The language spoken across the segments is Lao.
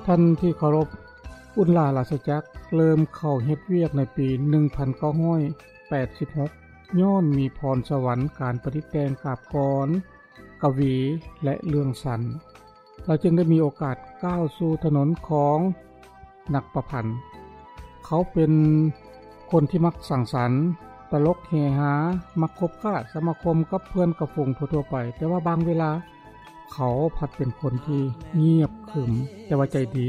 ທ່ານທີ່ເຄົາລົບ, ອຸນລາລາຊະຈັກເລີ່ມເຂົ້າເຮັດວຽກໃນປີໜຶ່ງພັນເກົ້າຮ້ອຍແປດສິບຫົກ ຍ້ອນມີພອນສະຫວັນການປະດິດແຕ່ງກາບກອນ, ກະວີ ແລະ ເລື່ອງສັ້ນ. ລາວຈຶ່ງໄດ້ມີໂອກາດກ້າວສູ່ຖະໜົນຂອງນັກປະພັນ. ເຂົາເປັນຄົນທີ່ມັກສັງສັນ, ຕະຫຼົກເຮຮາ, ມັກຄົບຄ້າສະມາຄົມກັບເພື່ອນກັບຝູງທົ່ວໆໄປ, ແຕ່ວ່າບາງເວລາ ເຂົາພັດເປັນຄົນທີ່ງຽບຂຶມ ແຕ່ວ່າໃຈດີ,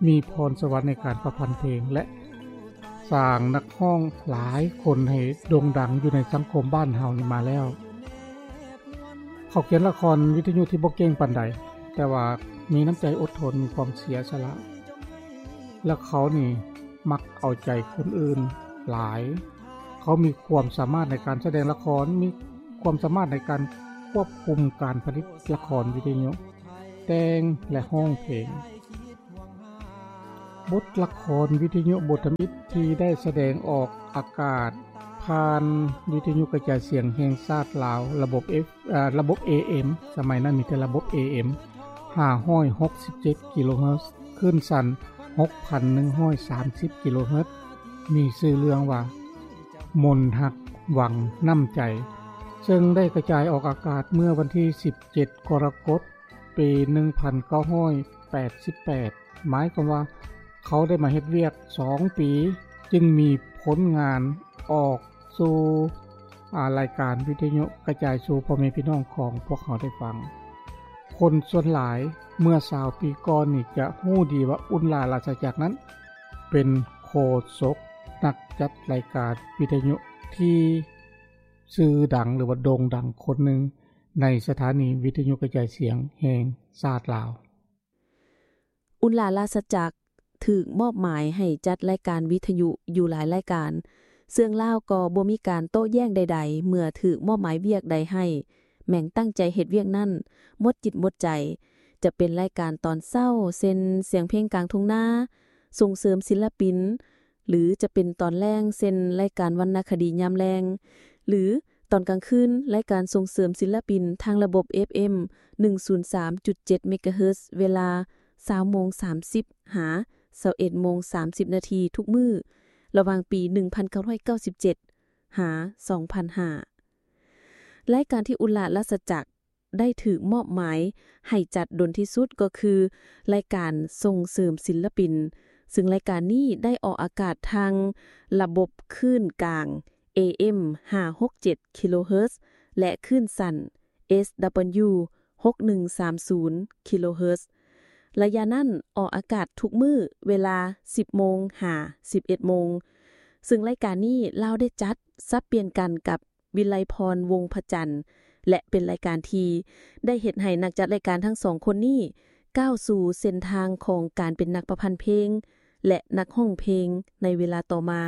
ມີພອນສະຫວັນໃນການປະພັນເພງ ແລະ ສ້າງນັກຮ້ອງຫຼາຍຄົນໃຫ້ໂດ່ງດັງຢູ່ໃນສັງຄົມບ້ານເຮົານີ້ມາແລ້ວ. ເຂົາຂຽນລະຄອນວິທະຍຸທີ່ບໍ່ເກັ່ງປານໃດ, ແຕ່ວ່າມີນ້ຳໃຈອົດທົນ, ມີຄວາມເສຍສະຫຼະ ແລະ ເຂົານີ້ມັກເອົາໃຈຄົນອື່ນຫຼາຍ. ເຂົາມີຄວາມສາມາດໃນການສະແດງລະຄອນ, ມີຄວາມສາມາດໃນການຄວບຄຸມການຜະລິດລະຄອນວິທະຍຸ, ແຕ່ງ ແລະ ຮ້ອງເພງ. ບົດລະຄອນວິທະຍຸບົດທຳອິດທີ່ໄດ້ສະແດງອອກອາກາດຜ່ານວິທະຍຸກະຈາຍສຽງແຫ່ງຊາດລາວ ລະບົບ F ເອີ່ ລະບົບ ເອເອັມ, ສະໄໝນັ້ນມີແຕ່ລະບົບ ເອເອັມ ຫ້າຮ້ອຍຫົກສິບເຈັດກິໂລເຮີດ, ຄື້ນສັ້ນຫົກພັນໜຶ່ງຮ້ອຍສາມສິບກິໂລເຮີດ, ມີຊື່ເລື່ອງວ່າ ມົນຮັກວັງນ້ຳໃຈ, ເຊິ່ງໄດ້ກະຈາຍອອກອາກາດເມື່ອວັນທີສິບເຈັດ ກໍລະກົດ ປີໜຶ່ງພັນເກົ້າຮ້ອຍແປດສິບແປດ ໝາຍຄວາມວ່າເຂົາໄດ້ມາເຮັດວຽກສອງປີ ຈຶ່ງມີຜົນງານອອກສູ່ ອາ ລາຍການວິທະຍຸກະຈາຍສູ່ພໍ່ແມ່ພີ່ນ້ອງຂອງພວກເຮົາໄດ້ຟັງ. ຄົນສ່ວນຫຼາຍເມື່ອຊາວປີກ່ອນນີ້ຈະຮູ້ດີວ່າ ອຸ່ນຫຼ້າລາຊະຈັກນັ້ນເປັນໂຄສົກນັກຈັດລາຍການວິທະຍຸທີ່ຊື່ດັງ ຫຼືວ່າໂດ່ງດັງຄົນໜຶ່ງ ໃນສະຖານີວິທະຍຸກະຈາຍສຽງແຫ່ງຊາດລາວ. ອຸ່ນຫຼ້າລາຊະຈັກຖືກມອບໝາຍໃຫ້ຈັດລາຍການວິທະຍຸຢູ່ຫຼາຍລາຍການ, ເຊິ່ງລາວກໍບໍ່ມີການໂຕ້ແຍ້ງໃດໆ ເມື່ອຖືກມອບໝາຍວຽກໃດໃຫ້, ແມ່ງຕັ້ງໃຈເຮັດວຽກນັ້ນໝົດຈິດໝົດໃຈ, ຈະເປັນລາຍການຕອນເຊົ້າ ເຊັ່ນ ສຽງເພງກາງທົ່ງນາ, ສົ່ງເສີມສິນລະປິນ, ຫຼື ຈະເປັນຕອນແລງ ເຊັ່ນ ລາຍການວັນນະຄະດີຍາມແລງ ຫຼື ຕອນກາງຄືນ ລາຍການສົ່ງເສີມສິນລະປິນທາງລະບົບ ເອັຟເອັມ ໜຶ່ງສູນສາມຈຸດເຈັດ ເມກາເຮີດ ເວລາ ຊາວໂມງສາມສິບ ຫາ ຊາວເອັດໂມງສາມສິບນາທີທຸກມື້ ລະຫວ່າງປີ ໜຶ່ງພັນເກົ້າຮ້ອຍເກົ້າສິບເຈັດ ຫາ ສອງພັນຫ້າ. ລາຍການທີ່ອຸ່ນຫຼ້າລາຊະຈັກ ໄດ້ຖືກມອບໝາຍໃຫ້ຈັດດົນທີ່ສຸດກໍຄື ລາຍການສົ່ງເສີມສິນລະປິນ, ເຊິ່ງລາຍການນີ້ໄດ້ອອກອາກາດທາງລະບົບຄື້ນກາງ ເອເອັມ ຫ້າຫົກເຈັດ ກິໂລເຮີດ ແລະ ຄື້ນສັ້ນ ເອສດັບເບິນຢູ ຫົກໜຶ່ງສາມສູນ ກິໂລເຮີດ. ໄລຍະນັ້ນອອກອາກາດທຸກມື້ເວລາ ສິບໂມງ ຫາ ສິບເອັດໂມງ, ເຊິ່ງລາຍການນີ້ລາວໄດ້ຈັດສັບປ່ຽນກັນກັບ ວິໄລພອນ ວົງພະຈັນ ແລະ ເປັນລາຍການທີ່ໄດ້ເຮັດໃຫ້ນັກຈັດລາຍການທັງສອງຄົນນີ້ ກ້າວສູ່ເສັ້ນທາງຂອງການເປັນນັກປະພັນເພງ ແລະ ນັກຮ້ອງເພງໃນເວລາຕໍ່ມາ.